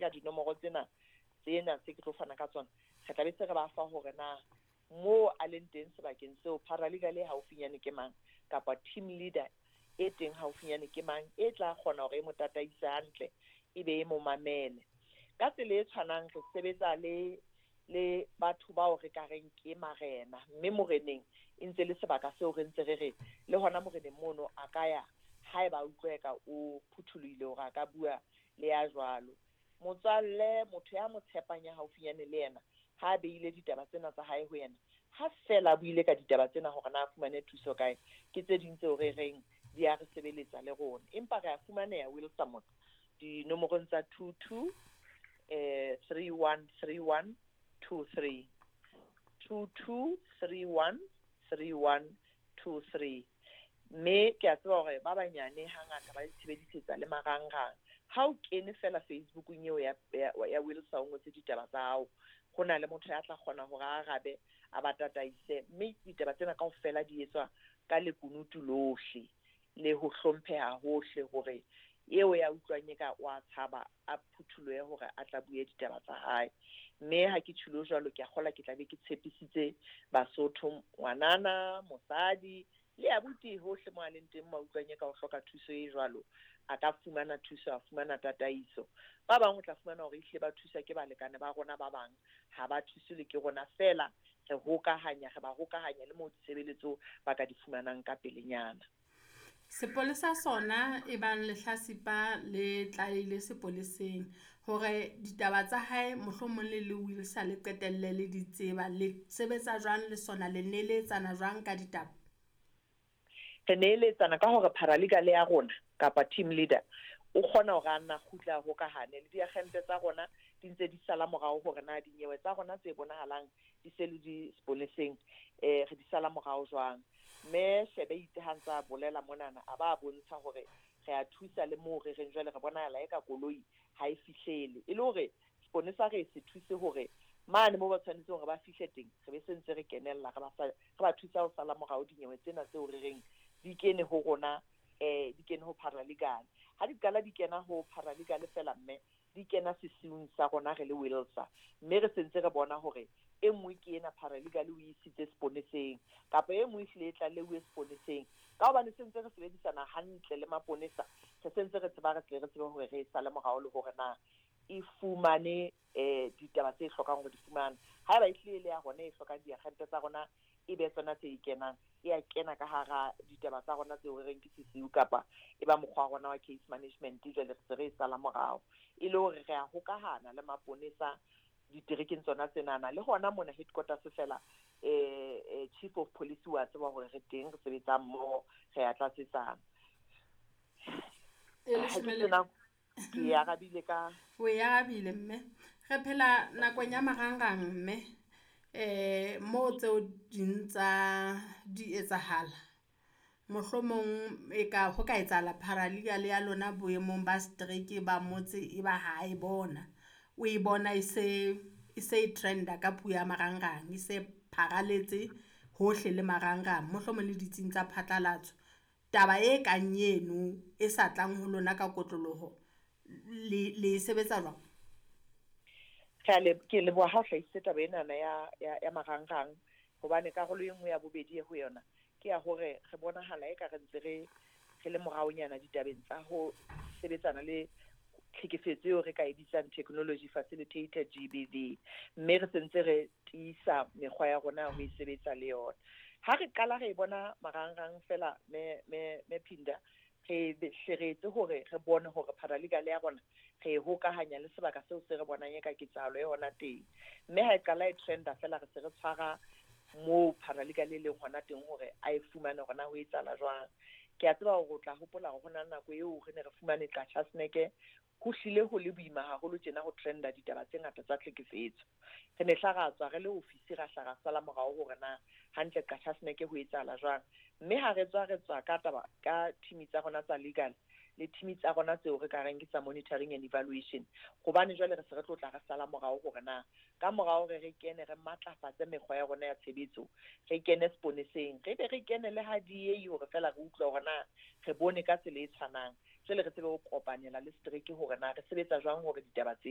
ka dinomoro tsena tsena tse ke tlo fana ka tsona, re tla be se re ba fa hore na moo a leng teng sebakeng seo paralegal e haufinyane ke mang, kapa team leader e teng haufinyane ke mang, e tla kgona hore e mo tataise hantle, e be e mo mamele. Ka tsela e tshwanang re sebetsa le batho bao re ka reng ke marena, mme moreneng e ntse le sebaka seo re ntse re re le hona moreneng mono a ka ya haeba a utlwa eka o phuthulohile hore a ka bua le ya jwalo. Motswalle, motho ya mo tshepang ya haufinyane le yena, ha a beile ditaba tsena tsa hae ho yena, ha fela a buile ka ditaba tsena hore na a fumane thuso kae, ke tse ding tseo re reng di a re sebeletsa le rona. Empa re a fumaneha Wilson dinomorong tsa 22 31 31 23, 22 31 31 23. Mme ke a tseba hore ba banyane hangata ba itshebedisetsa le marangrang. Ha o kene fela Facebookong eo ya Wilson, o ngotse ditaba tsa hao, ho na le motho ya tla kgona hore a arabe, a ba tataise. Mme ditaba tsena kaofela di etswa ka lekunutu lohle le ho hlompheha hohle, hore eo ya utlwang e ka wa tshaba a phuthulohe hore a tla bue ditaba tsa hae. Mme ha ke tjholo jwalo, ke a kgola ke tla be ke tshepisitse Basotho, ngwanana, mosadi le abuti hohle mo a leng teng, mo a utlwang e ka o hloka thuso e jwalo, a ka fumana thuso, a fumana tataiso. Ba bang o tla fumana hore ehlile ba thusa ke balekane ba rona, ba bang ha ba thuswe le ke rona fela, re hokahanya, re ba hokahanya le moo ditshebeletso ba ka di fumanang ka pelenyana. Sepolesa sona e bang lehlasipa le tlalehile sepoleseng hore ditaba tsa hae mohlomong le le Wilsa le qetelle le di tseba, le sebetsa jwang le sona, le neletsana jwang ka ditaba? Re neeletsana ka hore paralegal ya rona kapa team leader o kgona hore a nna kgutla hokahane le diagente tsa rona, di ntse di sala morao hore na dinyewe tsa rona tse bonahalang di se le di sepoleseng, re di sala morao jwang. Mme shebe itse ha ntsa bolela monana, a ba bontsha hore re a thusa le moo re reng jwale re bonahala eka koloi ha e fihlele, e le hore seponesa re se thuse hore mane moo ba tshwanetseng hore ba fihle teng, re be se ntse re kenella, re ba thusa ho sala morao dinyewe tsena tseo re reng di kene ho rona, di kene ho paralegal. Ha di qala di kena ho paralegal fela, mme di kena sesiung sa rona re le Wilsa, mme re sentse re bona hore e nngwe ke ena paralegal o isitse seponeseng, kapa e nngwe ehlile e tlaleuwe seponeseng. Ka hobane sentse re sebedisana hantle le maponesa, re sentse re tseba, re tle re tsebe hore re e sale morao le hore na e fumane ditaba tse hlokang hore di fumane. Haeba ehlile le ya rona e hlokang diagente tsa rona e be tsona tse kenang, e a kena ka hara ditaba tsa rona tseo re reng ke sesiu, kapa e ba mokgwa wa rona wa case management, jwale re se re e sala morao. E le hore re a hokahana le maponesa diterekeng tsona tsenana, le hona mona headquarters fela, chief of police wa tseba hore re teng, re sebetsa mmoho, re a tlatsetsana. Ke arabile ka o e arabile mme. Re phela nakong ya marangrang mme, moo tseo ding tsa di etsahala, mohlomong e ka ho ka etsahala paralegal ya lona boemong ba setereke ba motse e ba ha e bona, o e bona e se e trenda ka puo ya marangrang, e se pharaletse hohle le marangrang, mohlomong le ditsing tsa phatlalatso. Taba e kang eno e sa tlang ho lona ka kotloloho, le sebetsa jwang? Ke leboha ha o hlahisitse taba enana ya marangrang, hobane karolo e nngwe ya bobedi e ho yona ke ya hore re bonahala eka re ntse re le moraonyana ditabeng tsa ho sebetsana le tlhekefetso eo re ka e bitsang technology facilitated GBV, mme re sentse re tiisa mekgwa ya rona ho e sebetsa le yona. Ha re qala re e bona marangrang fela, me Phinda, re hle re etse hore re bone hore paralegal ya rona re e hokahanya le sebaka seo se re bonang eka ketsahalo e hona teng. Mme ha e qala e trenda fela, re se re tshwara moo paralegal e leng hona teng hore a e fumane hore na ho etsahala jwang. Ke a tseba hore o tla hopola hore hona le nako eo re ne re fumane Qachaseneke, ho hlile ho le boima haholo tjena ho trenda ditaba tse ngata tsa tlhekefetso. Re ne hla ra tswa re le ofisi, ra hla ra sala morao hore na hantle Qachaseneke ho etsahala jwang. Mme ha re tswa, re tswa ka taba ka team tsa rona tsa legal le team tsa rona tseo re ka reng ke tsa monitoring and evaluation, hobane jwale re se re tlo tla re sala morao hore na ka morao re kene re matlafatse mekgwa ya rona ya tshebetso, re kene seponeseng, re be re kene le ha DA hore fela re utlwe hore na re bone ka tsela e tshwanang, jwale re tsebe ho kopanela le setereke hore na re sebetsa jwang hore ditaba tse